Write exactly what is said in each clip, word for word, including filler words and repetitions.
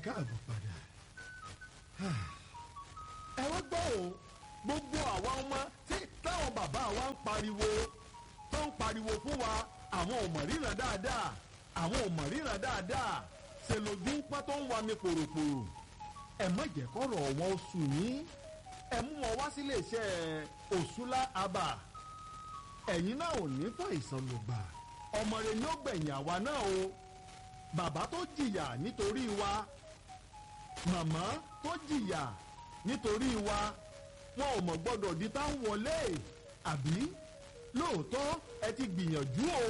Káàbọ̀ padà. Ẹ wá gbọ́ o, gbogbo àwa ọmọ tí táwọn bàbá wa ń pariwo, tó ń pariwo fún wa, àwọn ò mọ̀ ríran dáadáa, àwọn ò mọ̀ ríran dáadáa, ṣe lójú ń pọ́n tó ń wa mi pòròpòrò. Ẹ má jẹ́ kọ́rọ̀ wọn ó sùn yín, ẹ mú wọn wá sílé iṣẹ́ Òṣùlá Abà. Ẹ̀yin náà ò ní fàìsàn lògbà, ọmọ rẹ ni ó gbẹ̀yìn àwa náà o. Bàbá tó jìyà nítorí wa, màmá tó jìyà nítorí wa, wọn ò mọ̀ gbọ́dọ̀ di tá ń wọlé àbí. Lóòótọ́ ẹ ti gbìyànjú o,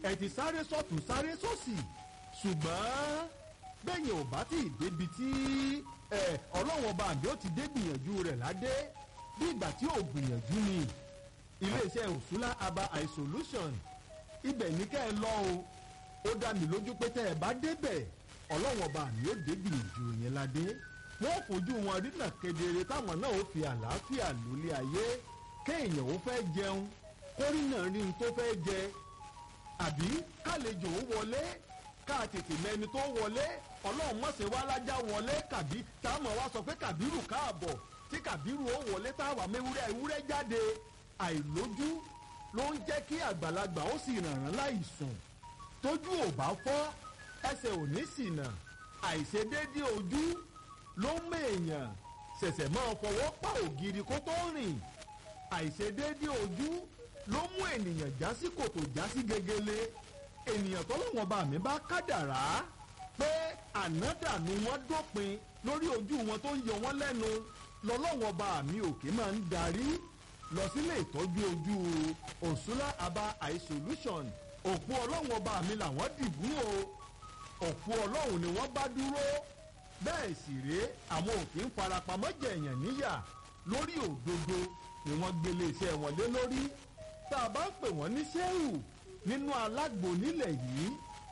ẹ ti sáré sọ́tún sáré sósì, ṣùgbọ́n bẹ́yìn ò bá tí ì débi tí ẹ ọlọ́wọ́n ọba àbí ó ti dé gbìyànjú rẹ̀ ládé, bí ìgbà tí ò gbìyànjú ni. Iléeṣẹ́ Òṣùlá Aba Eye Solution, ibẹ̀ ní kẹ́ ẹ lọ o. Ó dá mi lójú pé tẹ́ ẹ bá débẹ̀, ọlọ́wọ́n ọba àmì ó dé gbìyànjú yẹn ládé. Wọ́n fojú wọn rínà kedere, táwọn náà ó fi àlàáfíà lólé ayé. Kéèyàn ó fẹ́ jẹun, kórìnà rí n tó fẹ́ jẹ, àbí kálejò ó wọlé, ká tètè mẹni tó wọlé. Ọlọ́run má ṣe wá lájà wọlé kàbí táwọn wá sọ pé Kàbírù káàbọ̀, tí Kàbírù ó wọlé táwa mewúrẹ́ ewúrẹ́ jáde. Àìlójú ló ń jẹ́ kí àgbàlagbà ó sì rànràn láì sùn. Tójú ò bá fọ́, ẹsẹ̀ ò ní ṣìnà. Àìṣedéédé ojú ló ń mèèyàn ṣẹ̀ṣẹ̀ máa fọwọ́ pa ògiri kó tó rìn. Àìṣedéédé ojú ló mú ènìyàn já sí kòtò, já sí gegele. Ènìyàn tọ́lọ́wọ́n bá mi bá kádàrá pé ànádànù wọn dópin lórí ojú wọn tó ń yọ wọ́n lẹ́nu, lọ́lọ́wọ́n bá mi òkè máa ń darí lọ sílé ìtọ́jú ojú Òṣùlá Aba Eye Solution. Òpó ọlọ́wọ́n bá mi làwọn dìbò o, òpó ọlọ́run ni wọ́n bá dúró. Bẹ́ẹ̀ sì rèé, àwọn òkè ń farapamọ́ jẹ̀yàn níyà lórí òdodo ni wọ́n gbélé iṣẹ́ wọn lé lórí. Tá a bá ń pè wọ́n ní sẹ́wù nínú alágbo nílẹ̀ yìí,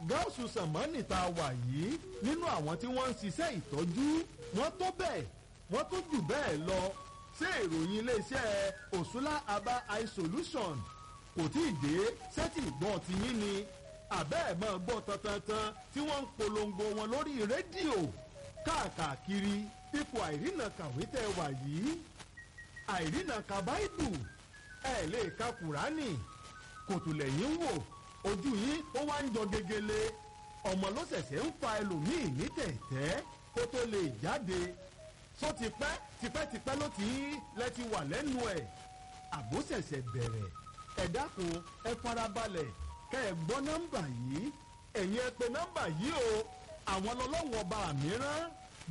gáàsù sàmánì tá a wà yìí, nínú àwọn tí wọ́n ń ṣiṣẹ́ ìtọ́jú, wọ́n tó bẹ́ẹ̀, wọ́n tó jù bẹ́ẹ̀ lọ. Ṣé ìròyìn iléeṣẹ́ Òṣùlá Aba Eye Solution kò tí ì dé sẹ́tì ìgbọ́n ti yín ni? Àbẹ́ ẹ̀ máa gbọ́ tantantan tí wọ́n ń polongo wọn lórí rédíò káàkiri. Ipò àìrìnà kàwé tẹ́ wà yìí, àìrìnà ka báìbù, ẹ lè ka kùránì, kòtò lẹ́yìn ń wò, ojú yín ó wá ń jọ gegele. Ọmọ ló ṣẹ̀ṣẹ̀ ń fa ẹlòmíì ní tẹ̀tẹ́ kó tó lè jáde. Só tipẹ́ tipẹ́tipẹ́ ló ti lẹ ti wà lẹ́nu ẹ̀, àbó ṣẹ̀ṣẹ̀ bẹ̀rẹ̀. Ẹ dákun, ẹ farabalẹ̀ kẹ́ ẹ gbọ́ nọ́mbà yìí. Ẹ̀yin ẹ pè nọ́mbà yìí o. Àwọn ọlọ́wọ́n ọba mìíràn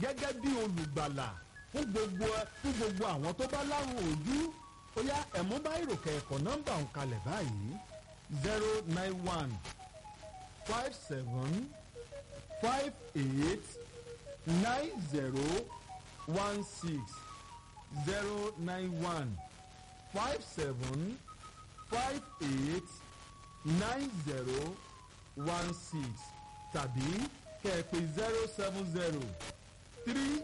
gẹ́gẹ́ bí olùgbàlà fún gbogbo fún gbogbo àwọn tó bá lárùn ojú. Ó yá, ẹ̀mú bá ìròkè ẹ̀kọ́ nọ́mbà òun kalẹ̀ báyìí: zero nine one five seven five eight nine zero one six, zero nine one five seven five eight nine zero one six, tàbí kẹ́ẹ̀pẹ́ zero seven zero three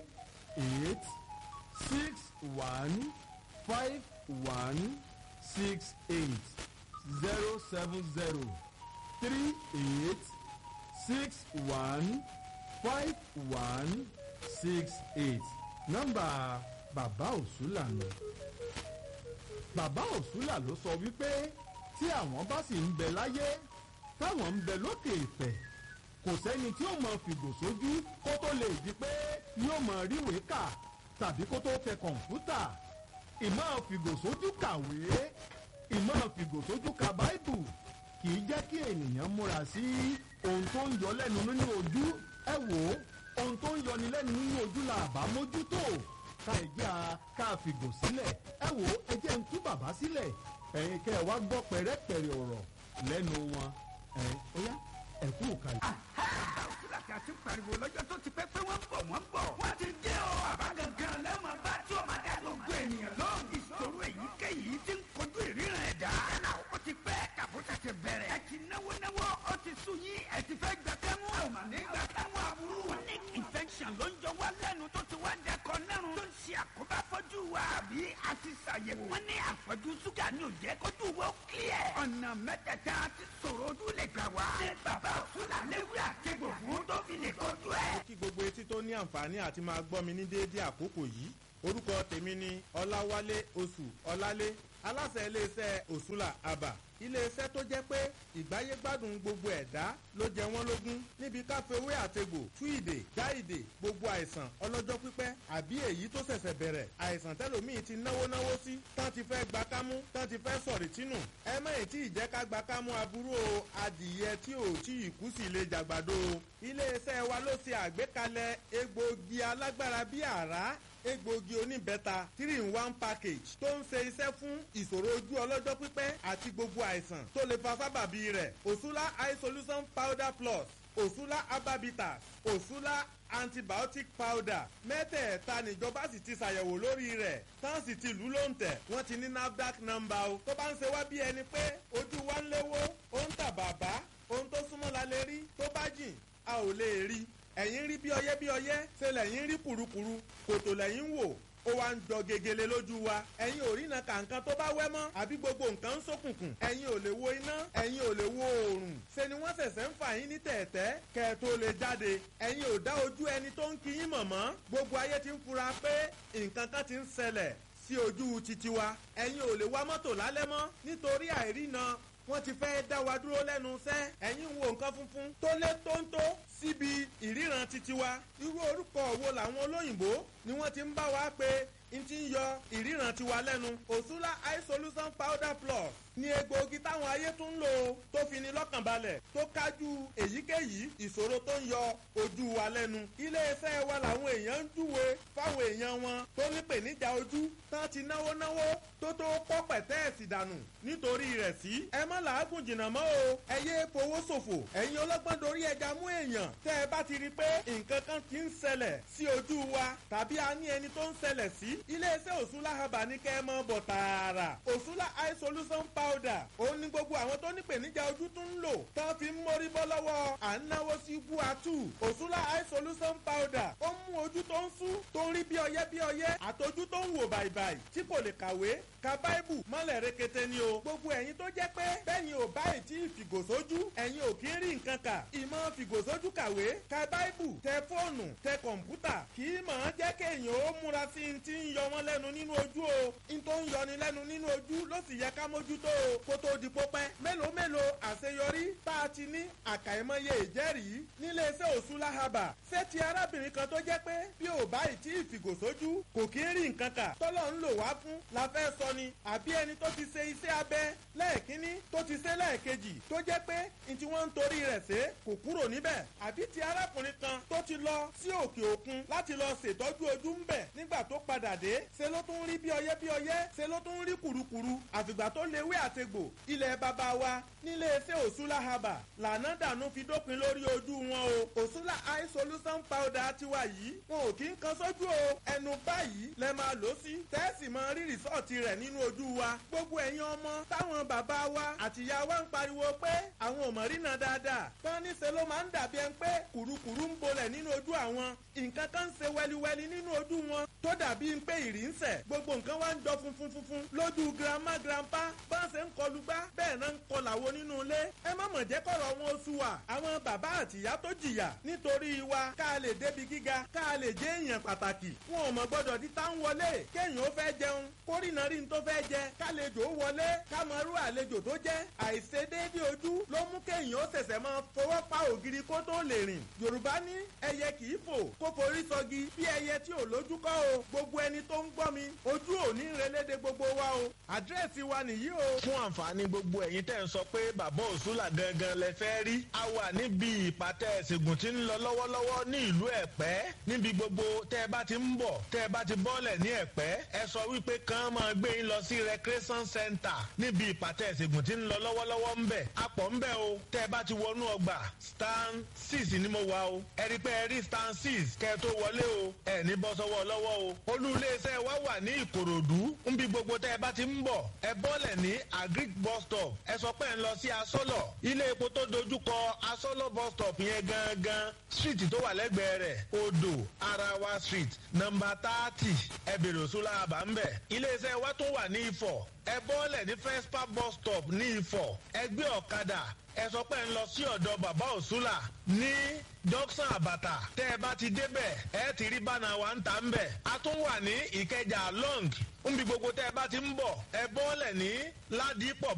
eight six one five one six eight, zero seven zero three eight six one five one six eight. Nọ́mbà bàbá Òṣùlà nù. Bàbá Òṣùlà ló sọ wípé tí àwọn bá sì ń bẹ láyé, táwọn ń bẹ lókè ìpẹ́, kò sẹ́ni tí ó mọ fìgò sójú kó tó lè di pé yóò mọ ríwèé kà tàbí kó tó tẹ kọ̀ǹpútà. Ìmọ̀ fìgò sójú kàwé, ìmọ̀ fìgò sójú ka báìbù kì í jẹ́ kí ènìyàn múra sí ohun tó ń yọ lẹ́nu nínú ojú. Ẹ wò ó, ohun tó ń yọni lẹ́nu nínú ojú la àbá mójútó, ká ẹ jẹ́ a ká fìgò sílẹ̀. Ẹ wò ó, ẹ jẹ́ ń tú bàbá sílẹ̀, ẹ̀yin kẹ́ ẹ wá gbọ́ pẹ̀rẹ́pẹ̀rẹ́ ọ̀rọ̀ lẹ́nu wọn. Ẹ̀ ó yá, ẹ kú òkàlẹ̀. Òṣùlá tí a ti pariwo lọ́jọ́ tó ti pẹ́ pé wọ́n ń bọ̀, wọ́n ń bọ̀. Wọ́n ti dé o. Bàbá gangan lẹ́mọ̀ bá tí o máa dá gbogbo ènìyàn lóhùn. Ìṣòro èyíkéyìí ti ń kojú ìríran ẹ̀dá. Yálà ó ti pẹ́ kàbó tètè bẹ̀rẹ̀. Ẹ ti náwó náwó, ó ti sú yín, ẹ ti fẹ́ gbà kẹ́mú. A ò mà ní gbà kẹ́mú aburú. Chronic infection ló ń jọ wá lẹ́nu tó ti wá dẹkọ nẹ́rùn. Tó ń ṣe àkóbá fọ́jú wa. Àbí a ti ṣàyẹ̀wò. Wọ́n ní àfọ́jú ṣúgà ní òjẹ́ kójú wo clear. Ọ̀nà mẹ́tẹ̀ẹ̀ta ti sọ̀rọ̀ ojú lè gbà wá. Ṣé bàbá Òṣùlà léwu àtẹ̀gbò fún tó fi lè kojú ẹ̀? Kí gbogbo etí tó ní ní àǹfààní àti máa gbọ́ mi ní déédéé àkókò yìí. Orúkọ tèmi ni Ọláwálé Oṣù Ọlálé, aláṣẹ iléeṣẹ́ Òṣùlà Àbà, iléeṣẹ́ tó jẹ́ pé ìgbáyégbádùn gbogbo ẹ̀dá ló jẹ wọ́n lógún níbi káfíwé àtegbò tú ìdè já ìdè gbogbo àìsàn ọlọ́jọ́ pípẹ́ àbí èyí tó ṣẹ̀ṣẹ̀ bẹ̀rẹ̀, àìsàn tẹ́lòmíì ti náwó náwó sí tán ti fẹ́ gba kámú, tán ti fẹ́ sọ̀rì tínú. Ẹ má ì tí ì jẹ́ ká gba kámú aburú o. Adìyẹ tí ò tí ì kú sí lè jàgbàdo o. Iléeṣẹ́ wa ló ṣe àgbékalẹ̀ egbòogi alágbára bíi àrá, egbòogi oníbẹ́ta three in one package tó ń ṣe iṣẹ́ fún ìṣòro ojú ọlọ́jọ́ pípẹ́ àti gbogbo àìsàn tó lè fa sábàbí rẹ̀. Òṣùlá Eye Solution Powder Plus, Òṣùlá Ababitas, Òṣùlá Antibiotic Powder, mẹ́tẹ̀ẹ̀ta níjọba sì ti ṣàyẹ̀wò lórí rẹ̀, tán sì ti lù ú lóǹtẹ̀. Wọ́n ti ní NAFDAC number o. Tó bá ń ṣe wá bí ẹni pé ojú wa ń léwó, ó ń tà bàbá, ohun tó súnmọ́ la lè rí, tó bá jìn a ò lè rí. Ẹ̀yin rí bí ọyẹ́ bí ọyẹ́ ṣe lẹ̀yin rí kùrukùru, kòtò lẹ̀yin wò, ó wá ń jọ gegele lójú wa. Ẹ̀yin ò rína kàǹkan tó bá wẹ́ mọ́, àbí gbogbo nǹkan ń ṣókùnkùn. Ẹ̀yin ò lè wo iná, ẹ̀yin ò lè wo oòrùn. Ṣe ni wọ́n ṣẹ̀ṣẹ̀ ń fà yín ní tẹ̀ẹ̀tẹ́ kẹ́ ẹ tó lè jáde. Ẹ̀yin ò dá ojú ẹni tó ń kí yín mọ̀ mọ́. Gbogbo ayé ti ń fura pé nǹkan kan ti ń ṣẹlẹ̀ sí ojú titi wa. Ẹ̀yin ò lè wa mọ́tò lálẹ́ mọ́ nítorí àìrína, wọ́n ti fẹ́ dá wa dúró lẹ́nu iṣẹ́. Ẹ̀yin wo nǹkan funfun tó lé tóńtó síbi ìríran titi wa. Irú orúkọ wo làwọn olóyìnbó ni wọ́n ti ń bá wa pé n ti ń yọ ìríran tiwa lẹ́nu? Òṣùlá Eye Solution Powder Plus ní egbòogi táwọn ayé tún ń lò tó fi ni lọ́kàn balẹ̀, tó kájú èyíkéyìí ìṣòro tó ń yọ ojú wa lẹ́nu. Iléeṣẹ́ wa làwọn èèyàn ń júwe fáwọn èèyàn wọn tó ní pèníjà ojú, tán ti náwó náwó tó tó kọ́ pẹ̀tẹ́ẹ̀sì dànù nítorí rẹ̀ sí. Ẹ má làágùn jìnnà mọ́ o, ẹ yé fowó ṣòfò. Ẹ̀yin ọlọ́gbọ́n dorí ẹja mú èèyàn. Tẹ́ ẹ bá ti rí i pé nǹkan kan ti ń ṣẹlẹ̀ sí ojú wa tàbí a ní ẹni tó ń ṣẹlẹ̀ sí, iléeṣẹ́ Òṣùlá Herbal ní kẹ́ ẹ mọ́ bọ̀ tààrà. Òṣùlá Eye Solution Powder òun ni gbogbo àwọn tó ní pèníjà ojú tún ń lò tán fi ń mórí bọ́ lọ́wọ́ à ń náwó sí guatu. Òṣùlá Eye Solution Powder ó mú ojú tó ń sú, tó ń rí bí ọyẹ́ bí ọyẹ́, àtọjú tó ń wò bàìbàì tí kò lè kàwé ka báìbù mọ́lẹ̀ rekete ni o. Gbogbo ẹ̀yin tó jẹ́ pé bẹ́yìn ò báyìí tí ìfìgòsójú, ẹ̀yin ò kí ń rí nǹkan kà. Ìmọ̀ fìgòsójú kàwé ka báìbù, tẹ fóònù, tẹ kọ̀ǹpútà kì í mọ̀ ọ́n jẹ́ kéèyàn ó múra sí i ti ń yọ wọ́n lẹ́nu nínú ojú o. N tó ń yọni lẹ́nu nínú ojú ló sì yẹ ká mójútó o kó tó di pópẹ́. Mélòó mélòó àṣeyọrí tá a ti ní, àkàìmọye ìjẹ́rìí níléeṣẹ́ Òṣùlá Herbal. Ṣé ti arábìnrin kan tó jẹ́ pé bí ò báyìí tí ìfìgòsójú kò kí ń rí nǹkan kà tọ́lọ́ ń lò wá fún la fẹ́ sọ ni, àbí ẹni tó ti ṣe iṣẹ́ abẹ lẹ́ẹ̀kínní, tó ti ṣe lẹ́ẹ̀kejì, tó jẹ́ pé n tí wọ́n ń torí rẹ̀ ṣe kò kúrò níbẹ̀, àbí ti arákùnrin kan tó ti lọ sí òkè òkun láti lọ ṣètọ́jú ojú ń bẹ̀, nígbà tó padà dé ṣe ló tún rí bí ọyẹ́ bí ọyẹ́, ṣe ló tún rí kùrukùru, àfìgbà tó lewé àtegbò ilẹ̀ bàbá wa nílé iṣẹ́ Òṣùlá Herbal lànà dànù fi dópin lórí ojú wọn o. Òṣùlá Eye Solution Powder tiwa yìí, wọn ò kí ń kan sójú o. Ẹnu báyìí lẹ máa lò sí, tẹ́ẹ̀sì máa rí rìsọ́ọ̀tì rẹ̀ nínú ojú wa. Gbogbo ẹ̀yin ọmọ táwọn bàbá wa àtìyá wa ń pariwo pé àwọn ò mọ̀ rínà dáadáa, tán níṣe ló máa ń dàbí ẹni pé kùrukùru ń bolẹ̀ nínú ojú àwọn, nǹkan kan ń ṣe wẹliwẹli nínú ojú wọn tó dàbí ń pé ìrì ń sẹ̀, gbogbo nǹkan wá ń jọ funfun funfun lójú grandma grandpa, bá ń ṣe ń kọlu gbá bẹ́ẹ̀ náà ń kọlàwo nínú ilé. Ẹ má mọ̀ jẹ́ kọ̀rọ̀ wọn oṣù wa. Àwọn bàbá àtìyá tó jìyà nítorí wa ká lè débi gíga, ká lè jẹ́ èèyàn pàtàkì, wọn ò mọ̀ gbọ́dọ̀ di tá ń wọlé kéèyàn ó fẹ́ jẹun kórìnà rí n tó fẹ́ jẹ, kálejò ó wọlé kámọ́rú àlejò tó jẹ́. Àìṣedéédé ojú ló mú kéèyàn ó ṣẹ̀ṣẹ̀ máa fọwọ́ pa ògiri kó tó lè rìn. Yorùbá ní ẹyẹ kì í fò kó forí sọgi, bí ẹyẹ tí ò lójú kọ́ o. Gbogbo ẹni tó ń gbọ́ mi, ojú ò ní relédè gbogbo wa o. Àdírẹ́sì wa nìyí o. Fún àǹfààní gbogbo ẹ̀yin tẹ́ ń sọ pé bàbá Òṣùlà gangan lẹ fẹ́ rí, a wà níbi ìpàtẹ ìṣègùn tí ń lọ lọ́wọ́lọ́wọ́ ní ìlú Ẹ̀pẹ́. Níbi gbogbo tẹ́ ẹ bá ti ń bọ̀, tẹ́ ẹ bá ti bọ́ọ̀lẹ̀ ní Ẹ̀pẹ́, ẹ sọ wípé kàn máa gbé yín lọ sí recreation center níbi ìpàtẹ ìṣègùn tí ń lọ lọ́wọ́lọ́wọ́ ń bẹ̀. A pọ̀ ń bẹ̀ o. Tẹ́ ẹ bá ti wọnú ọgbà stand six ni mo wà o. Ẹ rí pé ẹ rí stand six kẹ́ ẹ tó wọlé o. Ẹ ní bọ́ sọ́wọ́ lọ́wọ́ o. Olú iléeṣẹ́ wa wà ní Ìkòròdú. Níbi gbogbo tẹ́ ẹ bá ti ń bọ̀, ẹ bọ́lẹ̀ ní Agric bus stop. Ẹ sọ pé ẹ ń lọ sí Asọ́lọ̀. Ilé epo tó dojúkọ Asọ́lọ̀ bus stop yẹn gangan. Street street tó wà lẹ́gbẹ̀ẹ́ rẹ̀, Odò Arawa Street, nọ́mbà thirty, ẹ bèrè Òṣùlá Àbá ń bẹ̀. Iléeṣẹ́ wa tún wà ní Ifọ̀. Ẹ bọ́ọ̀lẹ̀ ní Fespa bus stop ní Ifọ̀. Ẹ gbé ọ̀kadà, ẹ sọ pé ń lọ sí ọ̀dọ̀ bàbá Òṣùlà ní Junction Àbàtà. Tẹ́ ẹ bá ti débẹ̀, ẹ ti rí bánà wa ń ta ń bẹ̀. A tún wà ní Ìkẹjà long nbi gbogbo tẹ́ ẹ bá ti ń bọ̀, ẹ bọ́ọ̀lẹ̀ ní Ládìpọ̀.